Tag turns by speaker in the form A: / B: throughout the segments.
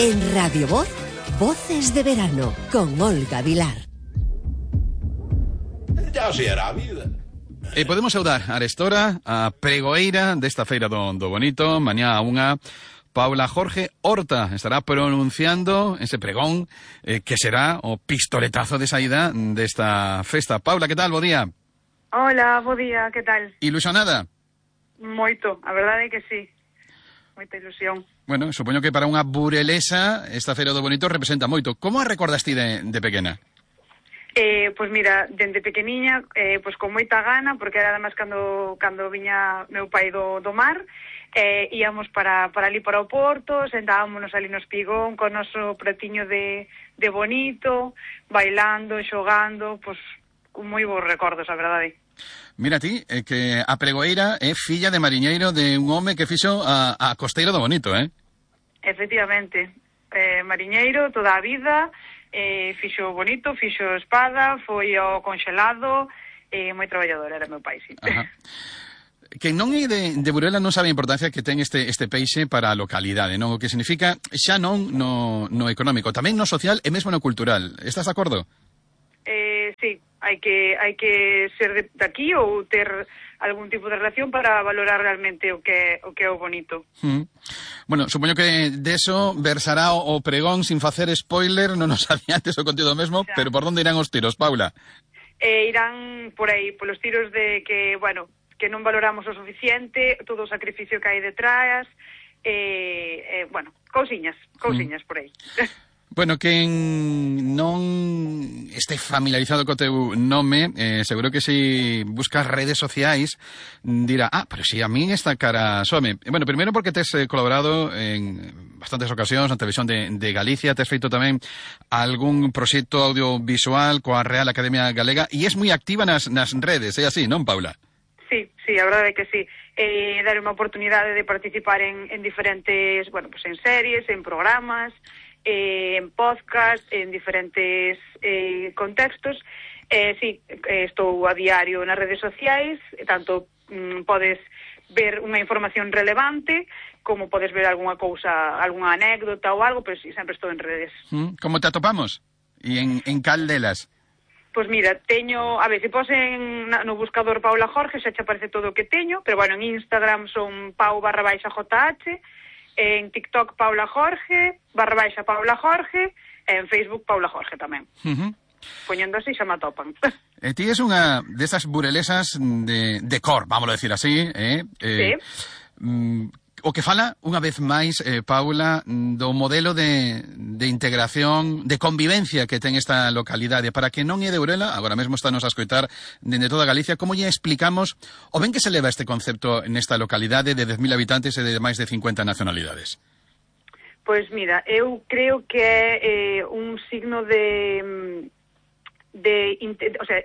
A: En Radio Voz, Voces de Verano, con Olga Vilar.
B: Ya se hará a vida.
C: E podemos saudar a arestora, a pregoeira desta feira do Bonito, mañá a unha, Paula Jorge Horta estará pronunciando ese pregón que será o pistoletazo de saída desta festa. Paula, que tal? Bo día.
D: Hola, bo día, que tal?
C: Ilusionada?
D: Moito, a verdade é que sí. Moita ilusión.
C: Bueno, supoño que para unha burelesa esta feira do Bonito representa moito. Como a recordas ti de pequena?
D: Pois mira, dende pequeniña, pois con moita gana, porque era además cando viña meu pai do mar, íamos para ali para o Porto, sentábamos ali no espigón con o noso pratiño de bonito, bailando, xogando, pois con moi bons recordos, a verdade.
C: Mira ti, que a pregoeira é filla de mariñeiro de un home que fixo a costeira do Bonito,
D: Efectivamente, mariñeiro toda a vida. Fixo bonito, fixo espada, foi ao conxelado, moi traballador era meu pai, sí.
C: Ajá. Que non é de Burela non sabe a importancia que ten este peixe para a localidade, non? O que significa xa non no económico, tamén no social e mesmo no cultural. Estás de acordo?
D: Sí, hai que ser de aquí ou ter algún tipo de relación para valorar realmente o que é o bonito.
C: Bueno, supoño que deso versará o pregón sin facer spoiler, non nos adiantes o contido mesmo, pero por onde irán os tiros, Paula?
D: Irán por aí, polos tiros de que, bueno, que non valoramos o suficiente, todo o sacrificio que hai detrás, bueno, cousiñas por aí.
C: Bueno, quen non este familiarizado co teu nome, seguro que se buscas redes sociais dirá, pero si a min esta cara some. Bueno, primeiro porque tes colaborado en bastantes ocasións na televisión de Galicia, tes feito tamén algún proxecto audiovisual coa Real Academia Galega e és moi activa nas redes, é así, non, Paula?
D: Sí, a verdade é que sí. Dar unha oportunidade de participar en diferentes, bueno, pues en series, en programas, en podcast, en diferentes contextos. Sí, estou a diario nas redes sociais, tanto podes ver unha información relevante como podes ver algunha cousa, algunha anécdota ou algo, pero sí, sempre estou en redes.
C: Como te atopamos? E en cal delas?
D: Pois mira, teño, a ver, se posen no buscador Paula Jorge, xa che aparece todo o que teño, pero bueno, en Instagram son pau_JH, en TikTok Paula Jorge, _Paula Jorge, e en Facebook Paula Jorge tamén. Poñendo así xa me atopan.
C: Ti es unha desas burelesas de cor, vamos a decir así,
D: Sí.
C: O que fala, unha vez máis, Paula, do modelo de integración, de convivencia que ten esta localidade. Para que non é de Burela, agora mesmo estános a escoitar dende toda Galicia, como lle explicamos o ben que se leva este concepto nesta localidade de 10.000 habitantes e de máis de 50 nacionalidades?
D: Pois mira, eu creo que é un signo de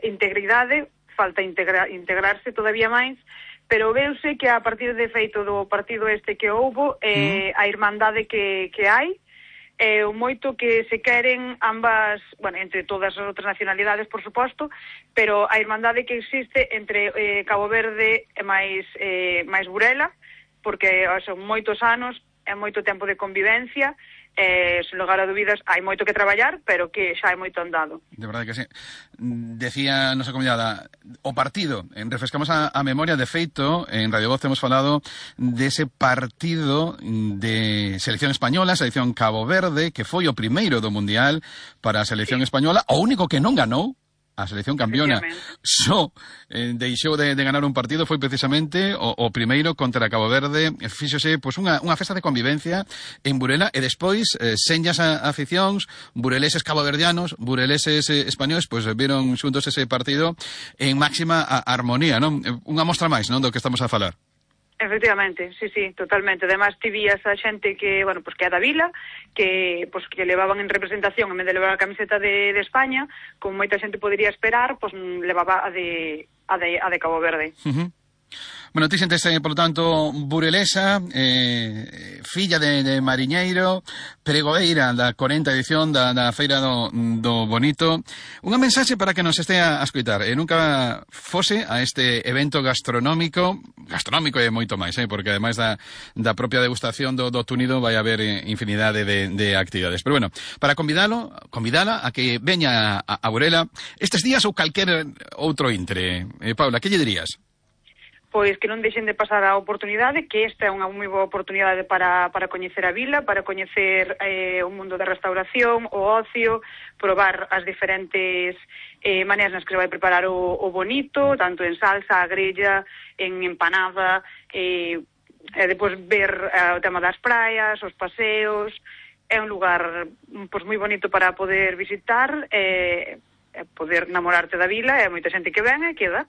D: integridade, falta integrarse todavía máis, pero veuse que a partir de feito do partido este que houbo, a irmandade que hai, o moito que se queren ambas, bueno, entre todas as outras nacionalidades, por suposto, pero a irmandade que existe entre Cabo Verde e máis Burela, porque son moitos anos, é moito tempo de convivencia, sen lugar a dúbidas, hai moito que traballar, pero que xa hai moito andado.
C: De verdade que sí. Decía nosa convidada, o partido, refrescamos a memoria, de feito, en Radio Voz hemos falado dese partido de selección española, selección Cabo Verde, que foi o primeiro do Mundial para a selección española, o único que non ganou, a selección campeona. Só deixou de ganar un partido, foi precisamente o primeiro contra Cabo Verde. Fíxose pois unha festa de convivencia en Burela e despois senllas aficións, bureleses caboverdianos, bureleses españoles, pois viron xuntos ese partido en máxima armonía, non? Unha mostra máis, non, do que estamos a falar.
D: Efectivamente, sí, totalmente. Además, ti vías a xente que, bueno, pues que é da vila, que levaban en representación, en vez de levar a camiseta de España, como moita xente podería esperar, pues levaba a de Cabo Verde.
C: Bueno, ti sentes, por lo tanto, burelesa, filla de mariñeiro, pregoeira da 40ª edición da Feira do Bonito. Unha mensaxe para que nos estea a escoitar. Nunca fose a este evento gastronómico e moito máis, porque ademais da propia degustación do túnido vai haber infinidade de actividades. Pero bueno, para convidala a que veña a Burela estes días ou calquer outro intre. Paula, que lle dirías?
D: Pois que non deixen de pasar a oportunidade, que esta é unha moi boa oportunidade para coñecer a vila, para coñecer o mundo da restauración, o ocio, probar as diferentes maneiras nas que se vai preparar o bonito, tanto en salsa, a grella, en empanada, e depois ver o tema das praias, os paseos. É un lugar pois moi bonito para poder visitar, poder namorarte da vila, e moita xente que ven e queda.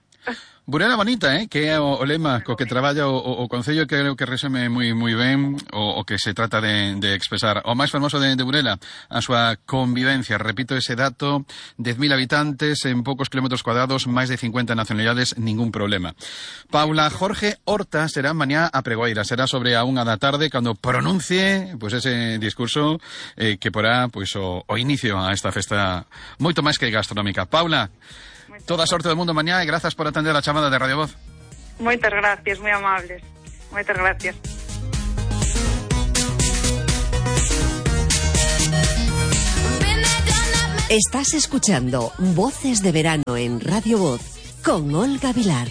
C: Burela bonita, que é o lema co que traballa o Concello, que creo que resume moi ben o que se trata de expresar. O máis fermoso de Burela, a súa convivencia. Repito ese dato, 10.000 habitantes en poucos kilómetros cuadrados, máis de 50 nacionalidades, ningún problema. Paula Jorge Horta será mañá a pregoeira, será sobre a 1 da tarde cando pronuncie ese discurso que porá o inicio a esta festa moito máis que gastronómica. Paula, toda a sorte do mundo mañá e grazas por atender a chamada de Radio Voz.
D: Moitas gracias, moi amables. Moitas gracias.
A: Estás escuchando Voces de Verano en Radio Voz con Olga Vilar.